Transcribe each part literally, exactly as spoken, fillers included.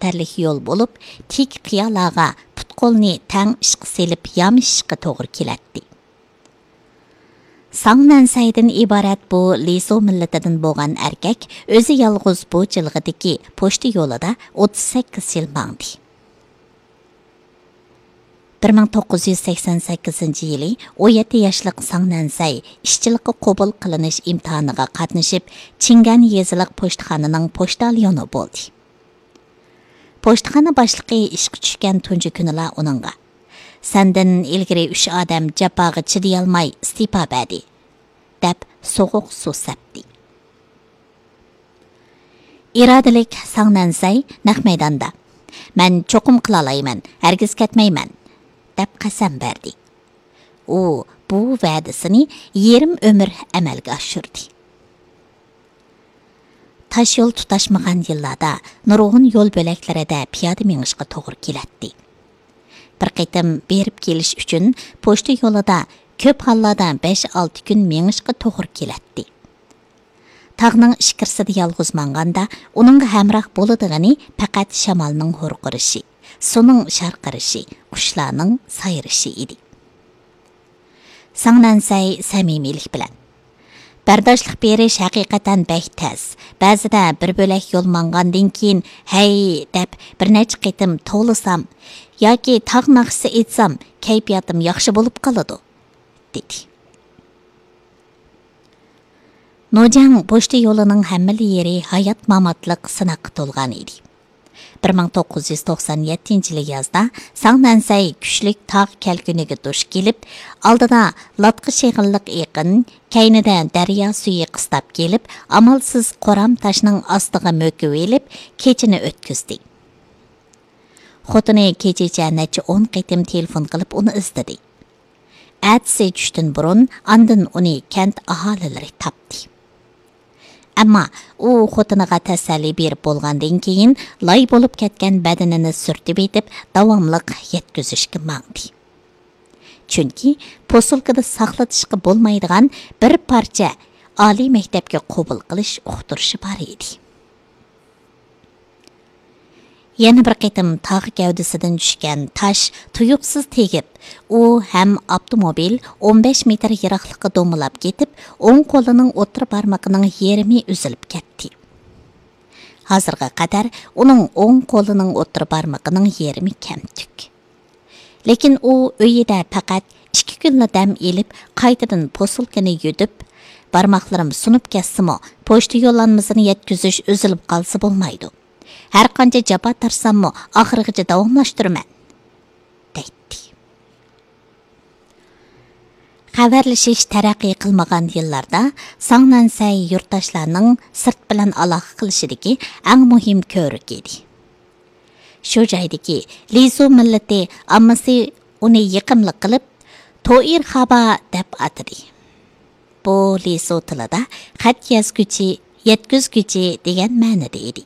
تەرلىك يول بولۇپ، تىك قىيالارغا پۇت-قولنى تەڭ ئىشقا سېلىپ يامىشىشقا توغرا كېلەتتى. ساڭ نەنسەيدىن ئىبارەت بۇ لىسۇ مىللىتىدىن بولغان ئەركەك ئۆزى يالغۇز بۇ جىلغىدىكى پوچتا يولىدا ئوتتۇز سەككىز يىل ماڭدى. بىر مىڭ توققۇز يۈز سەكسەن سەككىزىنچى يىلى ئون يەتتە ياشلىق ساڭ نەنسەي ئىشچىلىققا قوبۇل قىلىنىش ئىمتىھانىغا قاتنىشىپ، چىڭگەن يېزىلىق پوچتىخانىنىڭ پوچتاليونى بولدى. پوچتىخانا باشلىقى ئىشقا چۈشكەن تۇنجى كۈنىلا ئۇنىڭغا، «سەندىن ئىلگىرى ئۈچ ئادەم جاپاغا چىدىيالماي ئىستېپا بەردى» دەپ سوغۇق سۇ سەپتى. ئىرادىلىك ساڭ نەنسەي نەق مەيداندا، «مەن چوقۇم قىلالايمەن، ھەرگىز كەتمەيمەن» دەپ قەسەم بەردى. ئۇ بۇ ۋەدىسىنى يېرىم ئۆمۈر ئەمەلگە ئاشۇردى. تاشيول تۇتاشمىغان يىللاردا نۇرغۇن يول بۆلەكلىرىدە پىيادە مېڭىشقا توغرا كېلەتتى. بىر قېتىم بېرىپ كېلىش ئۈچۈن پوچتا يولىدا كۆپ ھاللاردا بەش-ئالتە كۈن مېڭىشقا توغرا كېلەتتى. تاغنىڭ ئىچكىرىسىدە يالغۇز ماڭغاندا ئۇنىڭغا ھەمراھ بولىدىغىنى پەقەت شامالنىڭ ھۇرقۇرىشى، سۇنىڭ شارقىرىشى، قۇشلارنىڭ سايرىشى ئىدى. ساڭ نەنسەي سەمىمىيلىك بىلەن، «بەرداشلىق بېرىش ھەقىقەتەن بەك تەس. بەزىدە بىر بۆلەك يول ماڭغاندىن كېيىن، ھەي دەپ بىر نەچچە قېتىم توۋلىسام ياكى تاغ ناخشىسى ئېيتسام، كەيپىياتىم ياخشى بولۇپ قالىدۇ» دېدى. نوجياڭ پوچتا يولىنىڭ ھەممىلا يېرى ھايات-ماماتلىق سىناققا تولغان ئىدى. بىر مىڭ توققۇز يۈز توقسان يەتتىنچى يىلى يازدا ساڭ نەنسەي كۈچلۈك تاغ كەلكۈنىگە دۇچ كېلىپ، ئالدىدا لاتقا شېغىللىق ئېقىن، كەينىدە دەريا سۈيى قىستاپ كېلىپ، ئامالسىز قورام تاشنىڭ ئاستىغا مۆكۈۋېلىپ، كېچىنى ئۆتكۈزدى. خوتۇنى كېچىچە نەچچە ئون قېتىم تېلېفون قىلىپ ئۇنى ئىزدىدى. ئەتىسى چۈشتىن بۇرۇن ئاندىن ئۇنى كەنت ئاھالىلىرى تاپتى. ئەمما ئۇ خوتۇنىغا تەسەللى بېرىپ بولغاندىن كېيىن، لاي بولۇپ كەتكەن بەدىنىنى سۈرتۈۋېتىپ، داۋاملىق يەتكۈزۈشكە ماڭدى. چۈنكى پوسۇلكىدا ساقلىتىشقا بولمايدىغان بىر پارچە ئالىي مەكتەپكە قوبۇل قىلىش ئۇقتۇرۇشى بار ئىدى. يەنە بىر قېتىم تاغ گەۋدىسىدىن چۈشكەن تاش تۇيۇقسىز تېگىپ، ئۇ ھەم ئاپتوموبىل ئون بەش مېتىر يىراقلىققا دومىلاپ كېتىپ، ئوڭ قولىنىڭ ئوتتۇرا بارمىقىنىڭ يېرىمى ئۈزۈلۈپ كەتتى. ھازىرغا قەدەر ئۇنىڭ ئوڭ قولىنىڭ ئوتتۇرا بارمىقىنىڭ يېرىمى كەمتۈك. لېكىن ئۇ ئۆيىدە پەقەت ئىككى كۈنلا دەم ئېلىپ، قايتىدىن پوسۇلكىنى يۈدۈپ، «بارماقلىرىم سۇنۇپ كەتسىمۇ، پوچتا يوللانمىسىنى يەتكۈزۈش ئۈزۈلۈپ قالسا بولمايدۇ. ھەرقانچە جاپا تارتساممۇ، ئاخىرغىچە داۋاملاشتۇرىمەن» دەيتتى. خەۋەرلىشىش تەرەققىي قىلمىغان يىللاردا ساڭ نەنسەي يۇرتداشلارنىڭ سىرت بىلەن ئالاقە قىلىشىدىكى ئەڭ مۇھىم كۆۋرۈك ئىدى. شۇ جايدىكى لىزۇ مىللىتى ئاممىسى ئۇنى يېقىملىق قىلىپ، توئىر خابا دەپ ئاتىدى. بۇ لىزۇ تىلىدا خەت يازغۇچى، يەتكۈزگۈچى دېگەن مەنىدە ئىدى.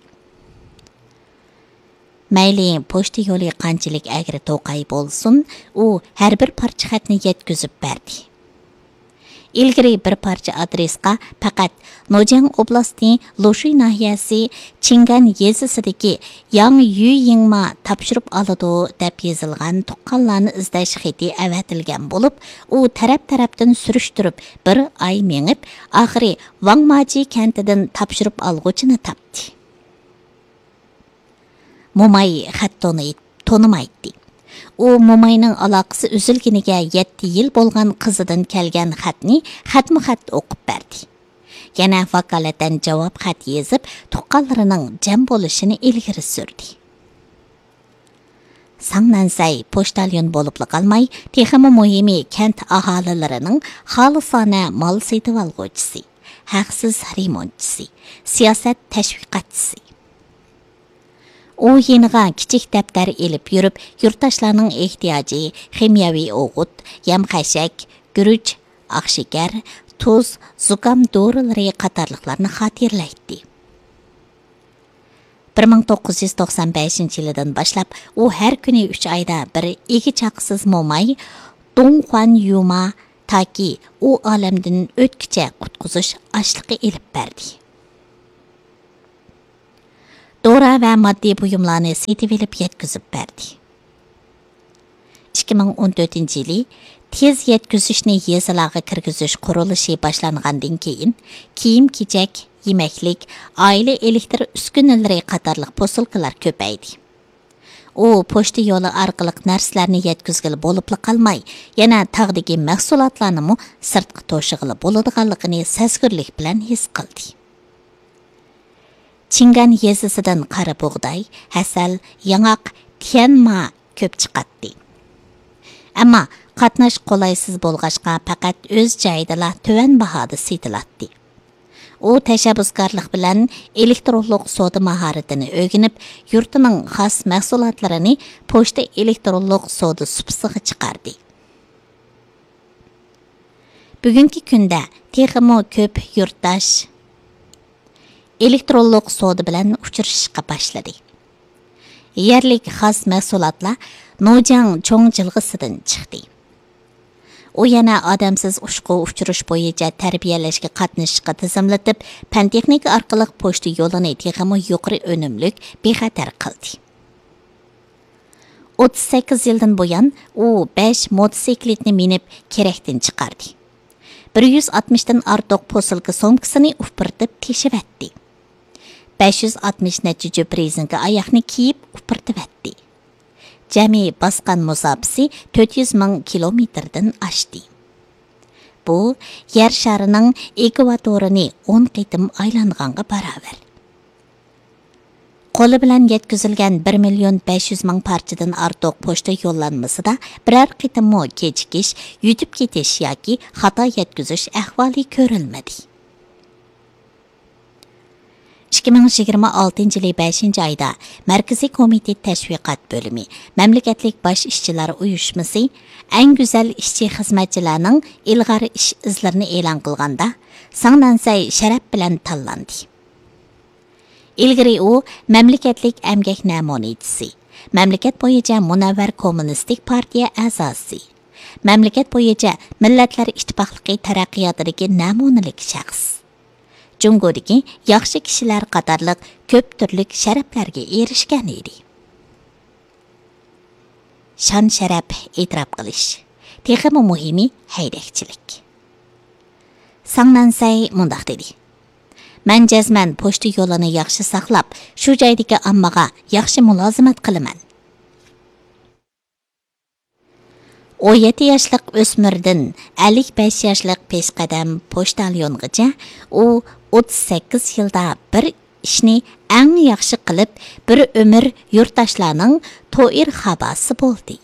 مەيلى پوچتا يولى قانچىلىك ئەگرى-توقاي بولسۇن، ئۇ ھەر بىر پارچە خەتنى يەتكۈزۈپ بەردى. ئىلگىرى بىر پارچە ئادرېسقا پەقەت نوجياڭ ئوبلاستى لوشۇي ناھىيەسى چىڭگەن يېزىسىدىكى ياڭ يۈيىڭما تاپشۇرۇپ ئالىدۇ دەپ يېزىلغان تۇغقانلارنى ئىزدەش خېتى ئەۋەتىلگەن بولۇپ، ئۇ تەرەپ-تەرەپتىن سۈرۈشتۈرۈپ بىر ئاي مېڭىپ، ئاخىرى ۋاڭماجى كەنتىدىن تاپشۇرۇپ ئالغۇچىنى تاپتى. موماي خەت تونۇي-، تونۇمايتتى. ئۇ موماينىڭ ئالاقىسى ئۈزۈلگىنىگە يەتتە يىل بولغان قىزىدىن كەلگەن خەتنى خەتمۇ خەت ئوقۇپ بەردى. يەنە ۋاكالىتەن جاۋاب خەت يېزىپ، تۇغقانلىرىنىڭ جەم بولۇشىنى ئىلگىرى سۈردى. ساڭ نەنسەي پوچتاليون بولۇپلا قالماي، تېخىمۇ مۇھىمى كەنت ئاھالىلىرىنىڭ خالىسانە مال سېتىۋالغۇچىسى، ھەقسىز رېمونتچىسى، سىياسەت تەشۋىقاتچىسى. ئۇ يېنىغا كىچىك دەپتەر ئېلىپ يۈرۈپ، يۇرتداشلارنىڭ ئېھتىياجى خىمىيەۋى ئوغۇت، يەم-خەشەك، گۈرۈچ، ئاق شېكەر، تۇز، زۇكام دورىلىرى قاتارلىقلارنى خاتىرىلەيتتى. بىر مىڭ توققۇز يۈز توقسان بەشىنچى يىلىدىن باشلاپ، ئۇ ھەر كۈنى ئۈچ ئايدا بىر ئىگە-چاقىسىز موماي دۇڭخۇەن يۇما تاكى ئۇ ئالەمدىن ئۆتكۈچە قۇتقۇزۇش ئاشلىقى ئېلىپ بەردى. دورا ۋە ماددىي بۇيۇملارنى سېتىۋېلىپ يەتكۈزۈپ بەردى. ئىككى مىڭ ئون تۆتىنچى يىلى تېز يەتكۈزۈشنى يېزىلارغا كىرگۈزۈش قۇرۇلۇشى باشلانغاندىن كېيىن، كىيىم-كېچەك، يېمەكلىك، ئائىلە ئېلېكتىر ئۈسكۈنىلىرى قاتارلىق پوسۇلكىلار كۆپەيدى. ئۇ پوچتا يولى ئارقىلىق نەرسىلەرنى يەتكۈزگىلى بولۇپلا قالماي، يەنە تاغدىكى مەھسۇلاتلارنىمۇ سىرتقا توشۇغىلى بولىدىغانلىقىنى سەزگۈرلۈك بىلەن ھېس قىلدى. چىڭگان يېزىسىدىن قارا بۇغداي، ھەسەل، ياڭاق، تيەنما كۆپ چىقاتتى. ئەمما قاتناش قولايسىز بولغاچقا، پەقەت ئۆز جايىدىلا تۆۋەن باھادا سېتىلاتتى. ئۇ تەشەببۇسكارلىق بىلەن ئېلېكترونلۇق سودا ماھارىتىنى ئۆگىنىپ، يۇرتىنىڭ خاس مەھسۇلاتلىرىنى پوچتا ئېلېكترونلۇق سودا سۇپىسىغا چىقاردى. بۈگۈنكى كۈندە تېخىمۇ كۆپ يۇرتداش ئېلېكترونلۇق سودا بىلەن ئۇچرىشىشقا باشلىدى. يەرلىك خاس مەھسۇلاتلار نوجياڭ چوڭ جىلغىسىدىن چىقتى. ئۇ يەنە ئادەمسىز ئۇچقۇ ئۇچۇرۇش بويىچە تەربىيەلەشكە قاتنىشىشقا تىزىملىتىپ، پەن-تېخنىكا ئارقىلىق پوچتا يولىنى تېخىمۇ يۇقىرى ئۈنۈملۈك، بىخەتەر قىلدى. ئوتتۇز سەككىز يىلدىن بۇيان ئۇ بەش موتوسىكلىتنى مىنىپ، كېرەكتىن چىقاردى. بىر يۈز ئاتمىشتىن ئارتۇق پوسۇلكا سومكىسىنى ئۇپرىتىپ تېشىۋەتتى. بەش يۈز ئاتمىش نەچچە جۈپ رېزىنكا ئاياغنى كىيىپ ئۇپرىتىۋەتتى. جەمئىي باسقان مۇساپىسى تۆت يۈز مىڭ كىلومېتىردىن ئاشتى. بۇ يەر شارىنىڭ ئېكۋاتورىنى ئون قېتىم ئايلانغانغا باراۋەر. قولى بىلەن يەتكۈزۈلگەن بىر مىليون بەش يۈز مىڭ پارچىدىن ئارتۇق پوچتا يوللانمىسىدا بىرەر قېتىممۇ كېچىكىش، يۈتۈپ كېتىش ياكى خاتا يەتكۈزۈش ئەھۋالى كۆرۈلمىدى. ئىككى مىڭ يىگىرمە ئالتىنچى يىلى بەشىنچى ئايدا مەركىزىي كومىتېت تەشۋىقات بۆلۈمى، مەملىكەتلىك باش ئىشچىلار ئۇيۇشمىسى ئەڭ گۈزەل ئىشچى-خىزمەتچىلەرنىڭ ئىلغار ئىش ئىزلىرىنى ئېلان قىلغاندا، ساڭ نەنسەي شەرەپ بىلەن تاللاندى. ئىلگىرى ئۇ مەملىكەتلىك ئەمگەك نەمۇنىچىسى، مەملىكەت بويىچە مۇنەۋۋەر كوممۇنىستىك پارتىيە ئەزاسى، مەملىكەت بويىچە مىللەتلەر ئىتتىپاقلىقى تەرەققىياتىدىكى نەمۇنىلىك شەخس، جۇڭگودىكى ياخشى كىشىلەر قاتارلىق كۆپ تۈرلۈك شەرەپلەرگە ئېرىشكەن ئىدى. شان-شەرەپ، ئېتىراپ قىلىش، تېخىمۇ مۇھىمى ھەيدەكچىلىك. ساڭ نەنسەي مۇنداق دېدى: مەن جەزمەن پوچتا يولىنى ياخشى ساقلاپ، شۇ جايدىكى ئاممىغا ياخشى مۇلازىمەت قىلىمەن. ئون يەتتە ياشلىق ئۆسمۈردىن ئەللىك بەش ياشلىق پېشقەدەم پوچتاليونغىچە ئۇ ئوتتۇز سەككىز يىلدا بىر ئىشنى ئەڭ ياخشى قىلىپ، بىر ئۆمۈر يۇرتداشلارنىڭ توئىر خاباسى بولدى.